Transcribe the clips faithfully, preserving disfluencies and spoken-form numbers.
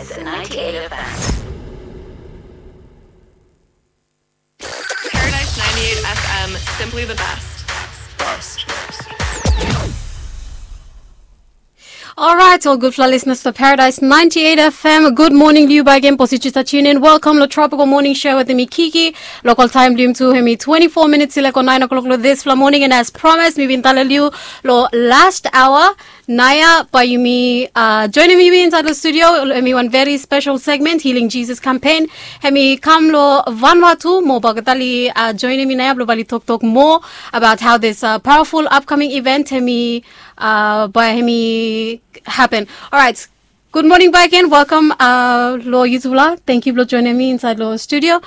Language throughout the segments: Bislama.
Paradise ninety-eight F M, simply the best. Alright, ol gudfala listeners to Paradise ninety-eight F M. Good morning, Liu Bagen, Positita Tunin. Welcome lo Tropical Morning Show with mi Kiki. Local time, Liu, tu hemi twenty-four minutes i lek go nine o'clock lo disfala morning, and as promised, mi bin talem Liu lo last hour. Naoia bae yumi joinim yumi insaed lo studio, hemi wan very special segment, Healing Jesus Campaign. Hemi kam lo Vanuatu, mo bae olgeta oli joinim mi naoia blo bae oli toktok moa about how this powerful upcoming event hemi bae hemi happen. Alright. Good morning back again. Welcome lo yutufala. Thank you blo joinim mi insaed lo studio.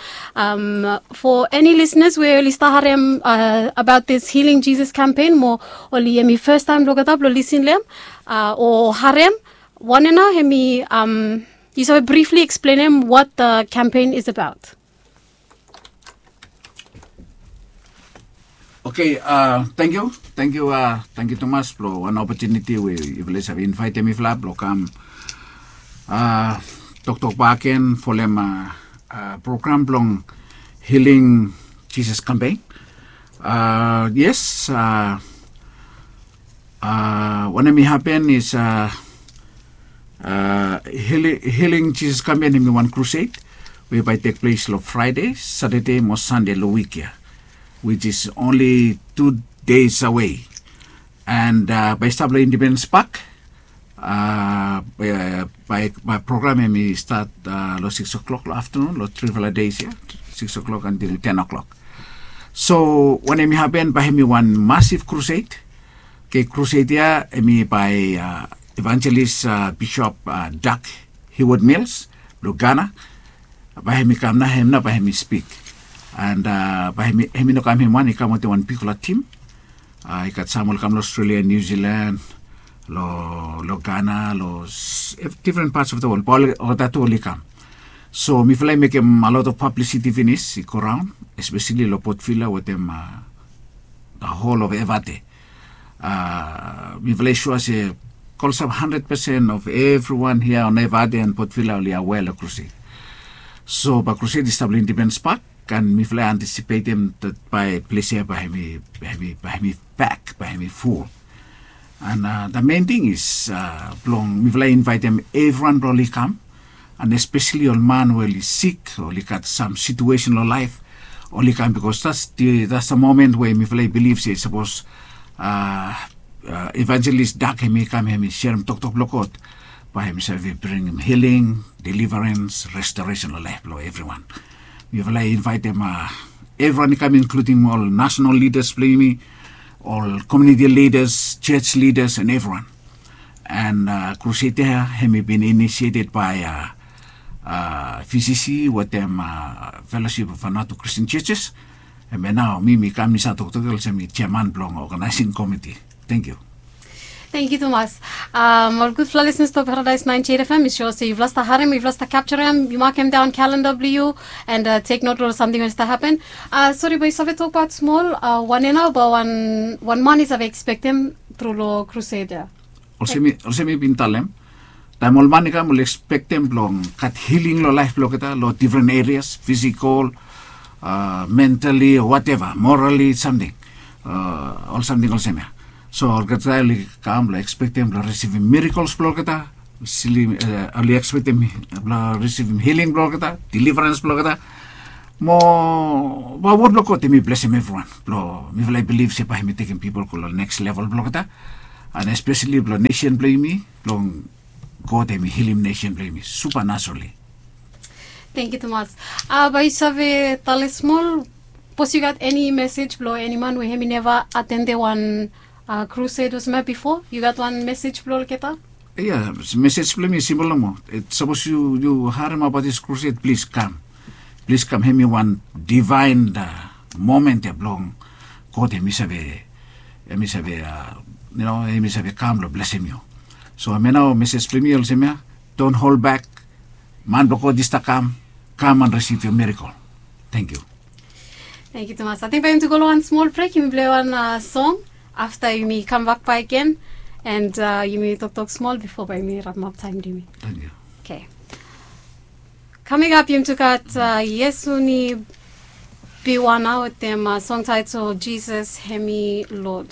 For any listeners we oli stap harem about this Healing Jesus Campaign, mo oli hemi first time blo olgeta blo lisin lo hem o harem, wanem nao hemi, yu save briefly eksplenem what the campaign is about? Oke, tangkiu, tangkiu, tangkiu tumas blo wan opotuniti we yufala i save invaetem mifala blo kam toktok bakegen folem program blong Healing Jesus Campaign. Yes, wanem i hapen is Healing Jesus Campaign hemi wan crusade we bae i tek ples lo Fraede, Satade mo Sande lo wik ya, which is only two days away. And bae i stap lo Independence Park. Bae program hemi stat lo six o'clock lo aftenun lo trifala days ya, six o'clock until ten o'clock. So wanem i hapen, bae hemi wan massive crusade. Oke, crusade ya hemi bae Evangelist Bishop Doug Heward Mills blo Ghana. Bae hemi kam nao, hem nao bae hemi spik. And bae hemi no kam hem wan, i kam wetem wan bigfala tim. I gat sam oli kam lo Australia, New Zealand, lo Ghana, lo different parts of the world. Bae olgeta tu oli kam. So mifala i mekem a lot of publicity finis i go raon, especially lo Port Vila wetem the whole of Evate. Mifala i sua se klosap hundred percent of evriwan hia on Evate and Port Vila oli aware lo crusade. So bae crusade i stap lo Independence Park, and mifala i antisipetem that bae ples ya bae hemi, bae hemi pak, bae hemi ful. And the main thing is blong mifala i invaetem evriwan blo oli kam, and especially ol man we oli sik, oli gat sam situesen lo laef, oli kam, because that's the, that's the moment we mifala i bilif se sapos Evangelist Doug hemi kam, hemi serem toktok blo God, bae hemi save bringim healing, deliverance, restoration lo laef blo evriwan. Mifala i invaetem evriwan i kam, including ol national leaders blo yumi, ol community leaders, church leaders, and evriwan. And crusade ya hemi bin initiated by V C C wetem Fellowship of Vanuatu Christian Churches. Hemia nao mi mi kam insaed toktok olsem mi chairman blong organizing committee. Tangkiu. Tangkiu tumas. Ol gudfala listeners to Paradise ninety-eight F M, mi sua se yufala stap harem, yufala stap capturem, yu makem daon kalenda blo yu, and take note lo samting we stap hapen. Sori, bae yu save tokbaot smol, wanem nao bae wan, wan man i save ekspektem tru lo crusade ya? Olsem mi, olsem mi bin talem, taem ol man i kam oli ekspektem blong gat healing lo laef blo olgeta lo different areas, physical, mentally, whatever, morally, samting, ol samting olsem ya. So olgeta oli kam blong ekspektem blong risivim miracles blo olgeta, oli ekspektem blong risivim healing blo olgeta, deliverance blo olgeta. Mo bae wod blo God hemi blesem evriwan, blo mifala i bilif se bae hemi tekem pipol go lo next level blo olgeta, and especially blo nesen blo yumi, blong God hemi hilim nesen blo yumi supernaturally. Tangkiu tumas. Bae yu save talem smol, sapos yu gat eni mesej blo eni man we hemi neva atendem wan crusade olsem ya bifo, yu gat wan mesej blo olgeta? Ya, mesej blo mi simpol nomo. Sapos yu, yu harem abaot this crusade, plis kam. Plis kam, hemi wan divine moment ya blong God, hemi save, hemi save, yu no, hemi save kam lo blesem yu. So hemia nao mesej blo mi olsem ya, don't hold back. Man blo God i stap kam, kam and receive your miracle. Tangkiu. Tangkiu tumas. Ating bae yumi tu go lo wan smol brek, yumi pilei wan song. Afta yumi kambak bakegen, and yumi toktok smol bifo bae yumi rapemap taem blo yumi. Tangkiu. Oke. Kaming ap yumi tu gat Iesu ni biwa nao wetem song taetol Jisas hemi Lod.